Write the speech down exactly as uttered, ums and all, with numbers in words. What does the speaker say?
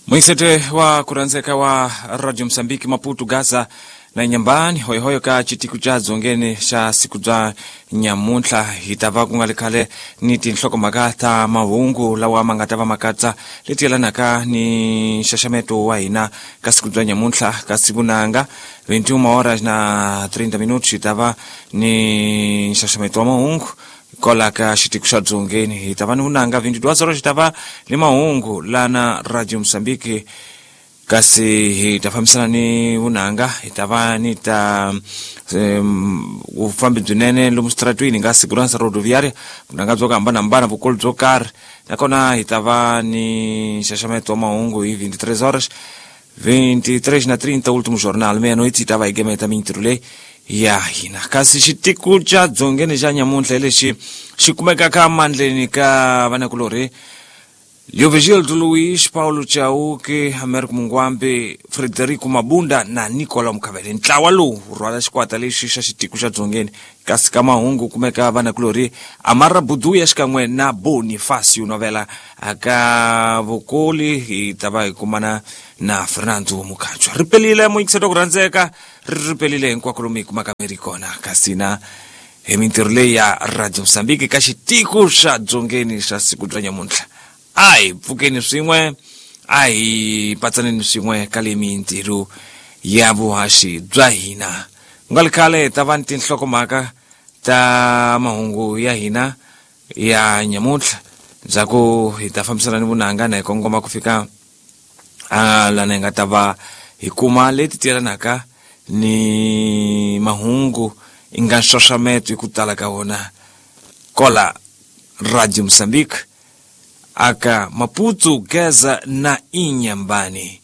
Mwisete wa kuranzeka wa Radio Msambiki Maputo Gaza na Inhambane hoyohoyo ka chitiku cha dzongeni xa siku bya nyamuntlha hi ta va ku nga ri khale ni tinhlokomhaka ta mahungu lawa ma nga ta va ma katsa leti yelanaka ni nxaxameto wa hina ka siku bya nyamuntlha ka siku nanga veintiuna horas na treinta minutos hi ta va ni nxaxameto wa mahungu kola ka xitiku xa dzongeni hi ta va ni vunanga veintiduas horas hi ta va ni mahungu lana Radio Msambiki kasi hi ta fambisana ni vunanga hi ta va ni ta um, vufambi byinene lomu switaratwini nga segurança rodoviária vunanga byo ku hambanahambana vukulu byo karhi nakona hi ta va ni nxaxameto wa mahungu hi veintitrês horas veintitrês na trinta último jornal meia-noite hi ta va hi gemeta mintirho leyi ya hina kasi xitiku xa dzongeni xa nyamuntlha hi lexi xi kumekaka mandleni ka vanakulorhi Leovigildo Luiz, Paulo Chauke, Américo Mungwambe, Frederico Mabunda na Nicolau Mukavele. Ntlawa lowu wu rhwala xikwata lexi xa xitiko xa dzongeni kasi ka mahungu kumeka vanakulorhi Amara Buduya xikan'we na Bonifacio Novela aka vukoli hi ta va hi kumana na Fernando Mukhatshwa. Ri pelile muyingiselo ku rhandzeka ri ri pelile hinkwako lomu hi kumaka mi ri kona kasi na hi mintirho leyi ya Radio Msambiki ka xitiko xa dzongeni xa siku bya nyamuntlha. A hi pfukeni swin'we a hi patsaneni swin'we ka le mintirho ya vuhaxi bya hina ku nga ri khale hi ta va ni tinhlokomhaka ta mahungu ya hina ya nyamuntlha ndzhaku hi ta fambisana ni vunanga na hi kongoma ku fika a lana hi nga ta va hi kuma leti tiyelanaka ni mahungu i nga nxaxameto hi ku tala ka wona kola Radio Mozambique aka Maputo, Gaza na Inhambane.